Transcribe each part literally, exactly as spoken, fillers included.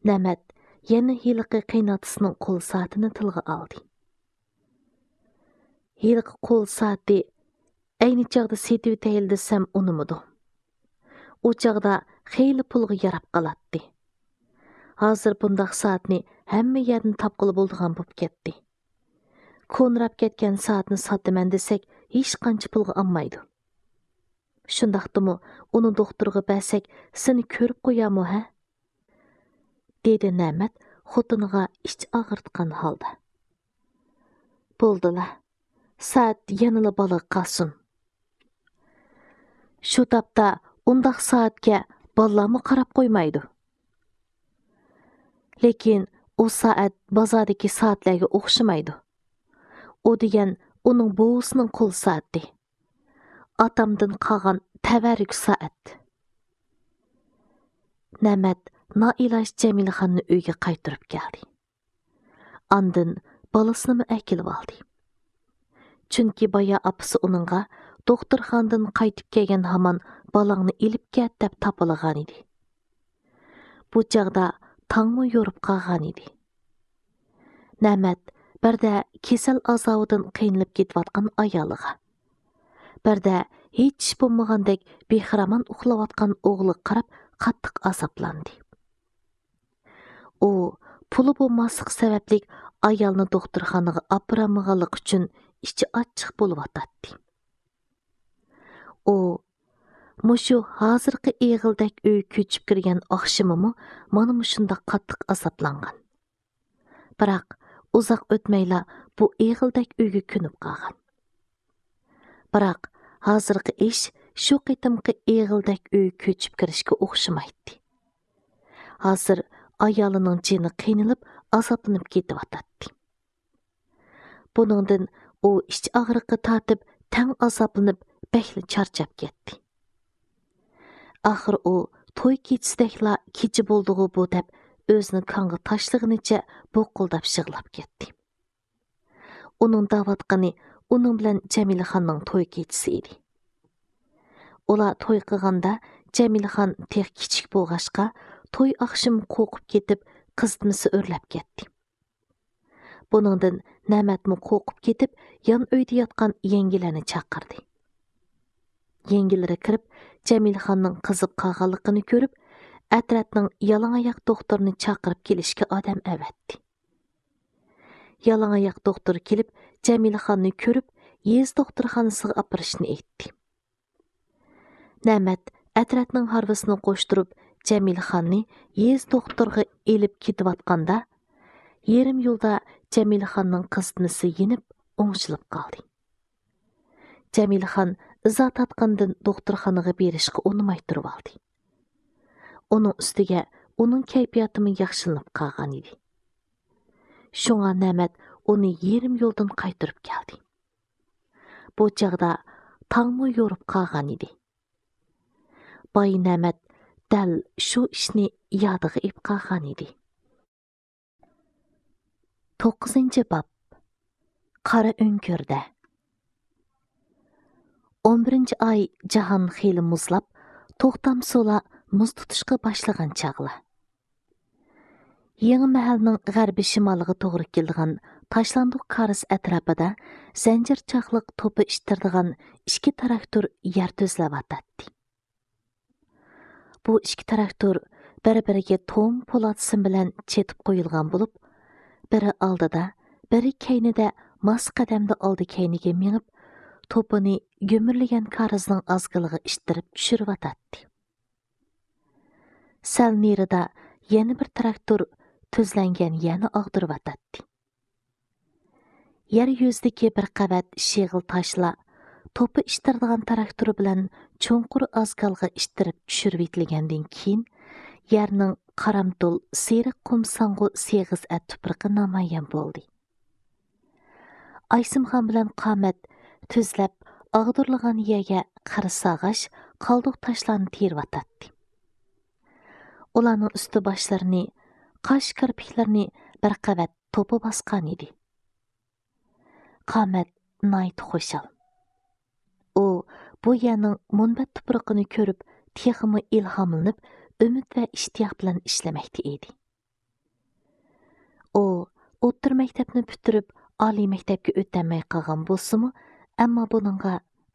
نەمەت يەنە ھېلىقى قېيىنئاتىسىنىڭ قول سائىتىنى تىلغا ئالدى. ھېلىقى قول سائىتى ئەينى چاغدا سېتىۋېتەيلى دېسەم ئۇنىمىدۇ. ئۇ چاغدا خېلى پۇلغا ياراپ قالاتتى. ھازىر بۇنداق سائەتنى ھەممە يەردىن تاپقىلى بولىدىغان بولۇپ كەتتى. كونىراپ كەتكەن سائەتنى ساتىمەن دېسەك، ھېچقانچە پۇلغا ئالمايدۇ. شۇنداقتىمۇ ئۇنى دوختۇرغا بەرسەك، سېنى كۆرۈپ قويارمۇ ھە؟ دېدى نەمەت خوتۇنىغا ئىچ ئاغرىتقان ھالدا. بولدىلا، سائەت يەنىلا بالىغا قالسۇن. شۇ تاپتا ئۇنداق سائەتكە بالىلارمۇ قاراپ قويمايدۇ. لېكىن ئۇ سائەت بازاردىكى سائەتلەرگە ئوخشىمايدۇ. ئۇ دېگەن ئۇنىڭ بوۋىسىنىڭ قول سائىتى. ئاتامدىن قالغان تەۋەررۈك سائەت. نەمەت نائىلاج جەمىلىخاننى ئۆيگە قايتۇرۇپ كەلدى. ئاندىن بالىسىنىمۇ ئەكېلىۋالدى. چۈنكى بايا ئاپىسى ئۇنىڭغا، دوختۇرخانىدىن قايتىپ كەلگەن ھامان بالاڭنى ئېلىپ كەت دەپ تاپىلىغانىدى. بۇ چاغدا تاڭمۇ يورۇپ قالغانىدى. نەمەت بىردە كېسەل ئازابىدىن قىينىلىپ كېتىۋاتقان ئايالىغا، بىردە ھېچ ئىش بولمىغاندەك بىخىرامان ئۇخلاۋاتقان ئوغلىغا قاراپ قاتتىق ئازابلاندى. ئۇ پۇلى بولماسلىقى سەۋەبلىك ئايالنى دوختۇرخانىغا ئاپىرالمىغانلىقى ئۈچۈن ئىچى ئاچچىق بولۇۋاتاتتى. ئۇ مۇشۇ ھازىرقى ئېغىلدەك ئۆيگە كۆچۈپ كىرگەن ئاخشىمىمۇ مانا مۇشۇنداق قاتتىق ئازابلانغان. بىراق ئۇزاق ئۆتمەيلا بۇ ئېغىلدەك ئۆيگە كۆنۈپ قالغان. بىراق ھازىرقى ئىش شۇ قېتىمقى ئېغىلدەك ئۆيگە كۆچۈپ كىرىشكە ئوخشىمايتتى. ھازىر ئايالىنىڭ جېنى قىينىلىپ، ئازابلىنىپ كېتىۋاتاتتى. بۇنىڭدىن ئۇ ئىچ ئاغرىقى تارتىپ، تەڭ ئازابلىنىپ، بەكلا چارچاپ كەتتى. ئاخىر ئۇ توي كېچىسىدەكلا كېچە بولدىغۇ بۇ دەپ، ئۆزىنى كاڭغا تاشلىغىنىچە بوقۇلداپ يىغلاپ كەتتى. ئۇنىڭ دەۋاتقىنى ئۇنىڭ بىلەن جەمىلىخاننىڭ توي كېچىسى ئىدى. ئۇلار توي قىلغاندا جەمىلىخان تېخى كىچىك بولغاچقا، توي ئاخشىمى قورقۇپ كېتىپ، قىزىتمىسى ئۆرلەپ كەتتى. بۇنىڭدىن نەمەتمۇ قورقۇپ كېتىپ، يان ئۆيدە ياتقان يەڭگىلەرنى چاقىردى. يەڭگىلىرى كىرىپ، جەمىلىخاننىڭ قىزىپ قالغانلىقىنى كۆرۈپ، ئەترەتنىڭ يالىڭاياق دوختۇرىنى چاقىرىپ كېلىشكە ئادەم ئەۋەتتى. يالىڭاياق دوختۇر كېلىپ، جەمىلىخاننى كۆرۈپ، يېزا دوختۇرخانىسىغا ئاپىرىشنى ئېيتتى. نەمەت ئەترەتنىڭ ھارۋىسىنى قوشتۇرۇپ، جەمىلىخاننى يېزا دوختۇرغا ئېلىپ كېتىۋاتقاندا، يېرىم يولدا جەمىلىخاننىڭ قىزىتمىسى يېنىپ، ئوڭشىلىپ قالدى. جەمىلىخان ئىزا تارتقاندىن دوختۇرخانىغا بېرىشقا ئۇنىماي تۇرۇۋالدى. ئۇنىڭ ئۈستىگە ئۇنىڭ كەيپىياتىمۇ ياخشىلىنىپ قالغان ئىدى. شۇڭا نەمەت ئۇنى يېرىم يولدىن قايتۇرۇپ كەلدى. بۇ چاغدا تاڭمۇ يورۇپ قالغان ئىدى. باي نەمەت دەل شۇ ئىشنى يادىغا ئېلىپ قالغان ئىدى. توققۇزىنچى باب. قارا ئۆڭكۈردە. ئون بىرىنچى ئاي جاھان خېلى مۇزلاپ، توختام سۇلار مۇز تۇتۇشقا باشلىغان چاغلار. يېڭى مەھەلنىڭ غەربىي شىمالىغا توغرا كېلىدىغان تاشلاندۇق كارىز ئەتراپىدا زەنجىر چاقلىق توپا ئىتتىرىدىغان ئىككى تىراكتور يەر تۈزلەۋاتاتتى. بۇ ئىككى تىراكتور بىر-بىرىگە توم پولات سىم بىلەن چېتىپ قويۇلغان بولۇپ، بىرى ئالدىدا، بىرى كەينىدە ماس قەدەمدە ئالدى-كەينىگە مېڭىپ، توپىنى گۈمۈرلىگەن كارىزنىڭ ئازگىلىغا ئىتتىرىپ چۈشۈرۈۋاتاتتى. سەل نېرىدا يەنە بىر تىراكتور تۈزلەنگەن يەرنى ئاغدۇرۇۋاتاتتى. يەر يۈزىدىكى بىر قەۋەت شېغىل تاشلار توپا ئىتتىرىدىغان تىراكتور بىلەن چوڭقۇر ئازگالغا ئىتتىرىپ چۈشۈرۈۋېتىلگەندىن كېيىن، يەرنىڭ قارامتۇل سېرىق قۇم ساڭغۇ سېغىز ئەت تۇپرىقى نامايان بولدى. ئايسىمخان بىلەن قامەت تۈزلەپ ئاغدۇرۇلغان يەرگە قىر ساغاش، قالدۇق تاشلارنى تېرىۋاتاتتى. ئۇلارنىڭ ئۈستى باشلىرىنى، قاش كىرپىكلىرىنى بىر قەۋەت توپا باسقان ئىدى. قامەت ناھايىتى خۇشال. ئۇ بۇ يەرنىڭ مۇنبەت تۇپرىقىنى كۆرۈپ، تېخىمۇ ئىلھاملىنىپ، ئۈمىد ۋە ئىشتىياق بىلەن ئىشلىمەكتە ئىدى. ئۇ ئوتتۇرا مەكتەپنى پۈتتۈرۈپ، ئالىي مەكتەپكە ئۆتەلمەي قالغان بولسىمۇ، ئەمما بۇنىڭغا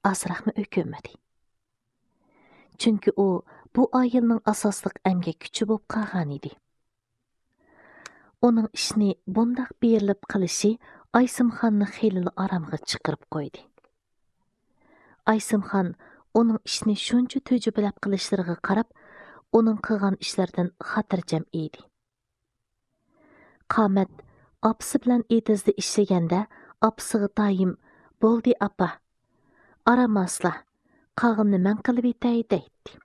ئازراقمۇ ئۆكۈنمىدى. چۈنكى ئۇ بۇ ئائىلىنىڭ ئاساسلىق ئەمگەك كۈچى بولۇپ قالغان ئىدى. ئۇنىڭ ئىشنى بۇنداق بېرىلىپ قىلىشى ئايسىمخاننى خېلىلا ئارامغا چىقىرىپ قويدى. ئايسىمخان ئۇنىڭ ئىشنى شۇنچە تۈجۈپىلەپ قىلىشلىرىغا قاراپ، ئۇنىڭ قىلغان ئىشلىرىدىن خاتىرجەم ئىدى. قامەت ئاپىسى بىلەن ئېتىزدا ئىشلىگەندە، ئاپىسىغا دائىم، «بولدى، ئاپا، ئارام ئالسىلا، قالغىنىنى مەن قىلىۋېتەي» دەيتتى.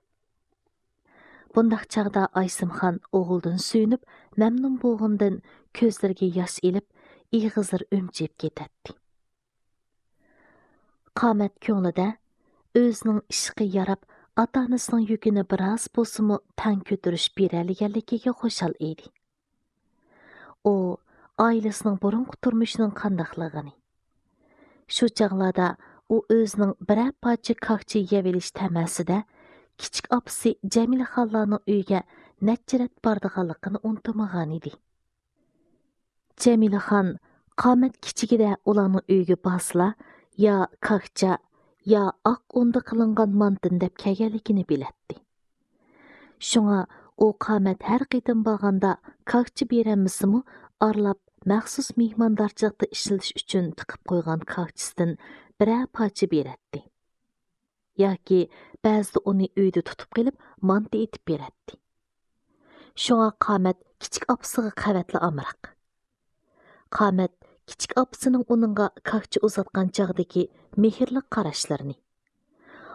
بۇنداق چاغدا ئايسىمخان ئوغلىدىن سۆيۈنۈپ، مەمنۇن بولغىنىدىن كۆزلىرىگە ياش ئېلىپ، ئېغىزلىرى ئۈمچىيىپ كېتەتتى. قامەت كۆڭلىدە ئۆزىنىڭ ئىشقا ياراپ، ئاتا-ئانىسىنىڭ يۈكىنى بىراز بولسىمۇ تەڭ كۆتۈرۈشۈپ بېرەلىگەنلىكىگە خۇشال ئىدى. ئۇ ئائىلىسىنىڭ بۇرۇنقى تۇرمۇشىنىڭ قانداقلىقىنى، شۇ چاغلاردا ئۇ ئۆزىنىڭ بىرەر پارچە كاكچا يەۋېلىش تەمەسىدە كىچىك ئاپىسى جەمىلىخانلارنىڭ ئۆيىگە نەچچە رەت بارىدىغانلىقىنى ئۇنتۇمىغانىدى. جەمىلىخان قامەت كىچىكىدە ئۇلارنىڭ ئۆيىگە بارسىلا، يا كاكچا، يا ئاق ئۇندا قىلىنغان مانتىنى دەپ كەلگەنلىكىنى بىلەتتى. شۇڭا ئۇ قامەت ھەر قېتىم بارغاندا كاكچا بېرەلمىسىمۇ، ئارىلاپ مەخسۇس مېھماندارچىلىقتا ئىشلىتىش ئۈچۈن تىقىپ قويغان كاكچىسىدىن بىرەر پارچە بېرەتتى. ياكى بەزىدە ئۇنى ئۆيدە تۇتۇپ قېلىپ، مانتا ئېتىپ بېرەتتى. شۇڭا قامەت كىچىك ئاپىسىغا قەۋەتلا ئامراق. قامەت كىچىك ئاپىسىنىڭ ئۇنىڭغا كاكچا ئۇزاتقان چاغدىكى مېھىرلىك قاراشلىرىنى،